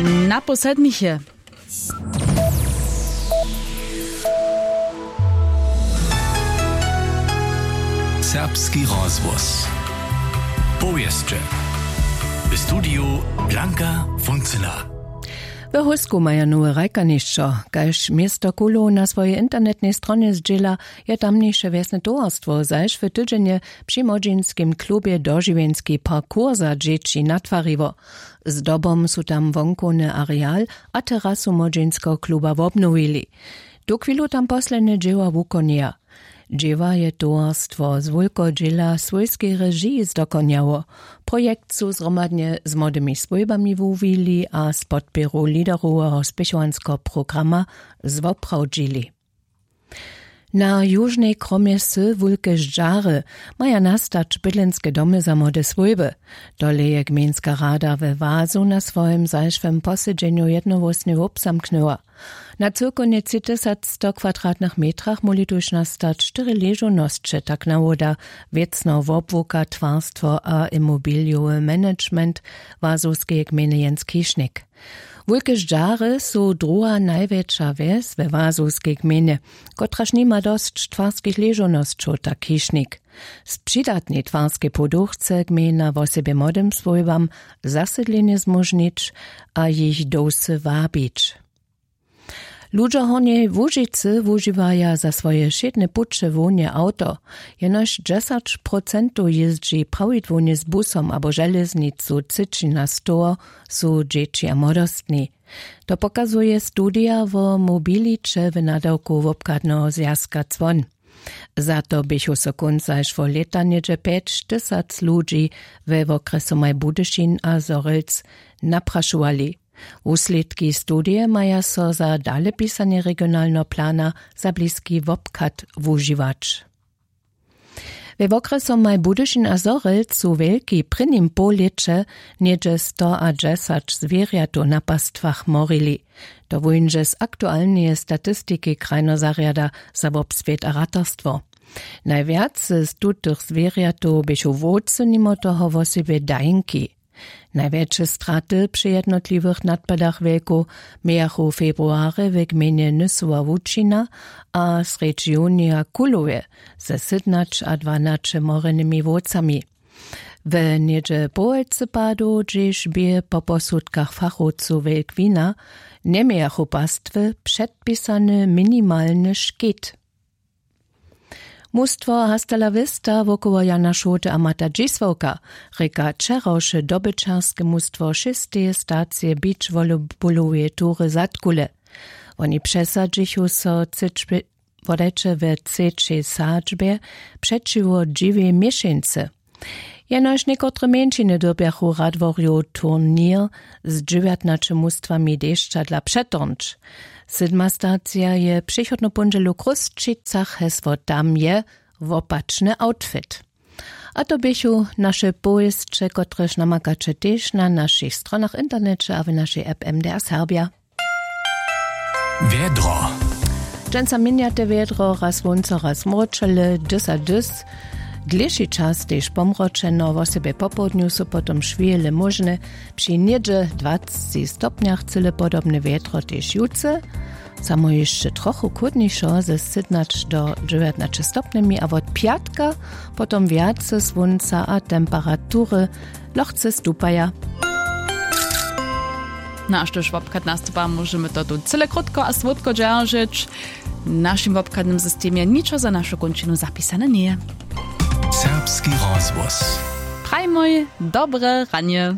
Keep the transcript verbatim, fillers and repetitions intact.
Na poslednich je. Serbski rozhłos. Powěsće. W studiju Blanka Funcyna. We Husku maja nowe hrajkanišćo. Kaž město kulow na swojej internetnej stronje zdźěla, je tamniše wjesne towarstwo zaž w tydźenje při młodźinskim klubje dožiwjenski parkour za dźěći natwariło. Zdobom su tam wonkowny areal a terasu młodźinskeho kluba wobnowili. Tuchwilu tam poslednje dźěła wukonjeja. Dźěła je towarstwo z wulkeho dźěla swójskej režiji zdokonjało. Projekt su zhromadnje z młodymi swójbami wuwili a z podpěru lideroweho spěchowanskeho programa zwoprawdźili. Na južnej kromje wsy wulke ždźary maja nastać bydlenske domy za młode swójby. Tole je gmejnska rada we wazu na swojim zašłym posedźenju jednohłósnje wobzamknyła. Na cyłkownje tři tysac sto kwadratnych metrach móhli tuž nastać štyri ležownosće, tak nawoda wěcneho wobłuka twarstwo a imobilijowy management wazowskeje gmejny jens kišnik. Wulke ždźary su druha najwjetša wjes we wazowskej gmejnje, kotraž nima dosć twarskich ležownosćow, tak kišnik. Z přidatnej twarskej poduch chce gmejna wosebje młodym swójbam zasydlenje zmóžnić a jich do wsy wabić. Ludźo w Hornjej Łužicy wužiwaja za swoje wšědne puće hłownje awto. Jenož dźesać procentow jězdźi prawidłownje z busom abo železnicu třěćina z toho su dźěći a młodostni. To pokazuje studija wo mobiliće w nadawku wobchadneho zwjazka cłon. Za to běchu so kónc zašłeho lěta něhdźe pjećtysac ludźi we wokrjesomaj Budyšin a Zhorjelc naprašowali. Wuslědki studije maja so za dalepisanje regionalneho plana za bliski wobchad wužiwać. We wokrjesomaj Budyšin a Zhorjelc su wjelki w prěnim połlěće něhdźe stoadźesać zwěrjatow na pastwach morili. To wóńdźe z aktualneje statistiki krajneho zarjada za wobswět a ratarstwo. Najwjace z tutych zwěrjatow běchu wowcy, nimo toho wosebje dajnki. Najwjetše straty při jednotliwych nadpadach wjelkow mějachu w februarje w gmejnje Nysowa Łučina a srjedź junija w Kulowje ze sydnaćadwanaće morenymi wowcami. W něhdźe połojcy padow, hdźež bě po posudkach fachowcow wjelk wina, njemějachu pastwy předpisany minimalny škit. Mustwo Hasta la Vista wokoło Jana Šołty a Mata Dźisławka rěka wčerawše dobyćerske mustwo šesteje stacije beachvolleyballoweje tury Zadkule. Woni přesadźichu so třećbě-, wodajće we třećej sadźbje přećiwo dźiwej měšeńcy. Jenož někotre mjeńšiny dyrbjachu Radworjow turněr z dźewjatnaće mustwami dešćadla přetorhnyć. Sydma stacija je přichodnu póndźelu w Chrósćicach, hesło tam je wopačny outfit. A to běchu naše powěsće, kotrež namakaće tež na našich stronach w interneće a w našej app M D R Serbja. Wjedro. Dźensa měnjate wjedro, raz słónco, raz mróčele, dys a dys. Dlěši čas tež pomročeno, wosebje popołdnju su potom šwěle móžne. Při něhdźe dwacci stopnjach cyle podobne wjedro tež jutře. Samo hišće trochu chłódnišo, ze sytnaće do dźewjatnaće stopnjemi, a wot pjatka potom wjace słónca a temperatury lochce stupaja. No a štož wobchad nastupa, móžemy to tu cyle krótko a słódko dźeržeć. W našim wobchadnym systemje ničo za našu kónčinu zapisane njeje. Serbski rozhłos. Prajmoj dobre ranje.